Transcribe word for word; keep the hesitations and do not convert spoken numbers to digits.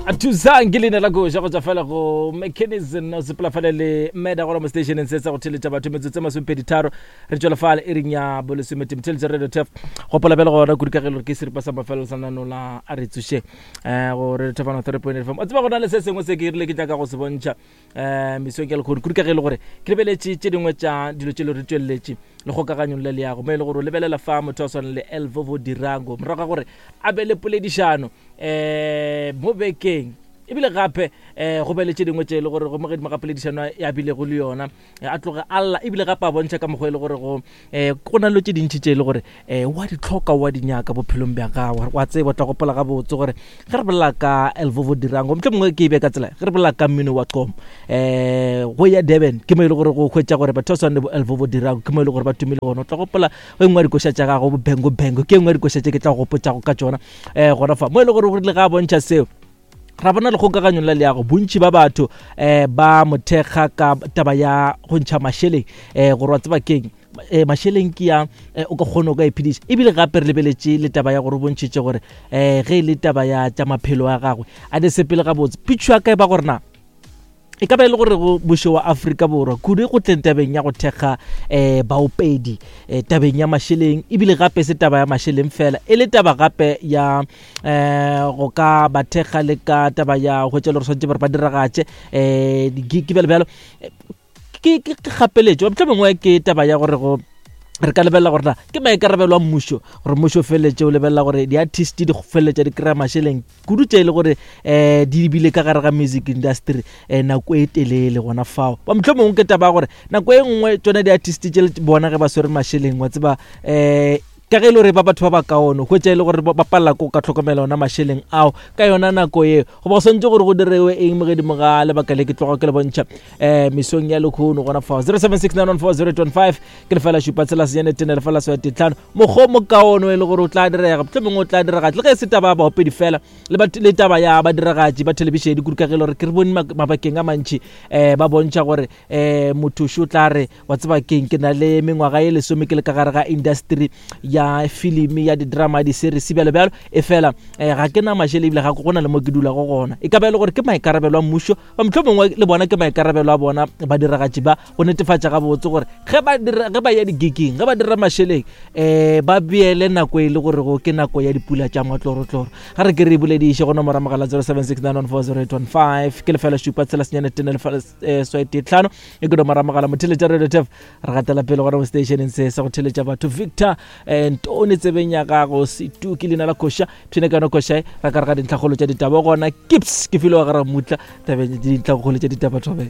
Thusang ke leina la koša go tswa fela go Mechanism, o sepela fale le meda gona mo stationeng se sa go theletša batho. Metsotso e masomepedi tharo re tswela fale e reng ya bolesomete motheletša Radio Tef. Gopola bjale gona kudu ka ge e le gore ke seripa sa mafelelo sa nano la a re tsošeng um go Radio Tef one three point eight F M. O tseba, go na le se sengwe se ke rile ke nyaka go se bontšha um mesong ya lekgono, kudu ka ge e le gore ke lebeletše tše dingwe tša dilo tše le re tšweleletše le kgokaganyong le leago, mo e le gore o lebelela fa motho a swana le Elvovo Dirango morago ga gore a be le poledišano um mo bekeng, ebile gape um go be le tše dingwe tše e le gore go mo gedimo ga poledišano ya bilego le yona a tloge a lla, ebile gape a bontšha ka mokgwa e le gore go um go na le tše dintšhi tše e le gore um wa di tlhoka, wa di nyaka bophelong bja gago. Wa tseba, tla gopola gabotse gore ge re bolela ka Elvovo Dirango, motlho mongwe ke e be ka tsela, ge re bolela ka mmino wa qomo um go ya Durban, ke mo e le gore go hwetša gore batho ba swane le bo Elvovo Dirango ke mo e le gore ba tumile gona. O tla gopola go engwe ya dikoša tša gago, bo Bengo Bengo, ke engwe ya dikoša tše ke tla go gopotšago ka tšona um gona fa mo e le gore go rile ga a bontšha seo, ra bona lekgokaganyong la leago bontši ba batho um ba mothekga ka taba ya go ntšha mašeleng um gore wa tseba keng, um mašeleng ke ya um o ka kgona o ka iphediša. Ebile gape re lebeletše le taba ya gore o bontšhitše gore um ge e le taba ya tša maphelo a gagwe a di sepele gabotse. Pitšho ya ka e ba gore na e ka ba e le gore go mmušo wa Afrika Borwa kudu go tleng tabeng ya go thekga um baopedi um tabeng ya mašeleng, ebile gape se taba ya mašeleng fela, e le taba gape ya um go ka ba thekga le ka taba ya go tšela gore swanetše gore ba diragatše um di-gig bjalo bjalo, ke kgapeletšo. Motlho mongwe ke taba ya gore go re ka lebelela gore na ke maikarabelo a mmušo gore mmušo o feleletše o lebelela gore di-artist di feleletša di kry-a mašeleng kudu tše e le gore um di bile ka gare ga music industry um nako e telele gona fao. Ba motlho mongwe ke taba ya gore nako e nngwe tsone di-artist tše bona ge ba swere mašeleng, wa tseba, um ka ge e le gore ba batho ba ba kaone, hwetša e le gore ba palela ko ka tlhokomela ona mašeleng ao ka yona nako eo, goba go swantse gore go direwe eng mo gedimo ga lebaka le ke tloga ke le bontšha um mesong ya lekgono gona fao. zero seven six nine one four zero eight one five ke lefela šupa tshela senyane tene lefela swa tetlhano. Mokgwa o mokaone e le gore o tla direga, motlho mongwe o tla direga le ge e se taba ya baopedi fela, le taba ya badiragatši ba thelebišene, kudu ka ge e le gore ke re bone mabakeng a mantšhi um ba bontšha gore um motho šo tla re wa tseba keng, ke na le mengwaga e lesome ke le ka gare ga industry ya filimi, ya di-drama, di-series, bjalo bjalo, e fela um ga ke na mašele ebile ga go na le mo ke dulago gona. E ka ba e le gore ke maikarabelo a mmušo, ba motlho mongwe le bona ke maikarabelo a bona badiragatši ba go netefatša gabotse gore ge ba dira, ge ba ya di-gigging, ge ba dira mašeleng um ba beele nako e le gore go ke nako ya dipula tša matlorotloro. Ga re ke re bolediše go nomora mogala zero seven six nine one four zero eight one five ke lefela šupa tshela senyane tene lefela swa tee tlhano e ke nomora mogala motheletša Radio Tef. Re gatela pele gona mo stationeng se sa go theletša batho. Victor um Ntone tsebeng ya gago setuki leina la koša phine ka yona koša ra ka re ga dintlhakgolo tša ditaba gona kips ke file wa gara mutla tabeng dintlhakgolo tša ditaba thobeng.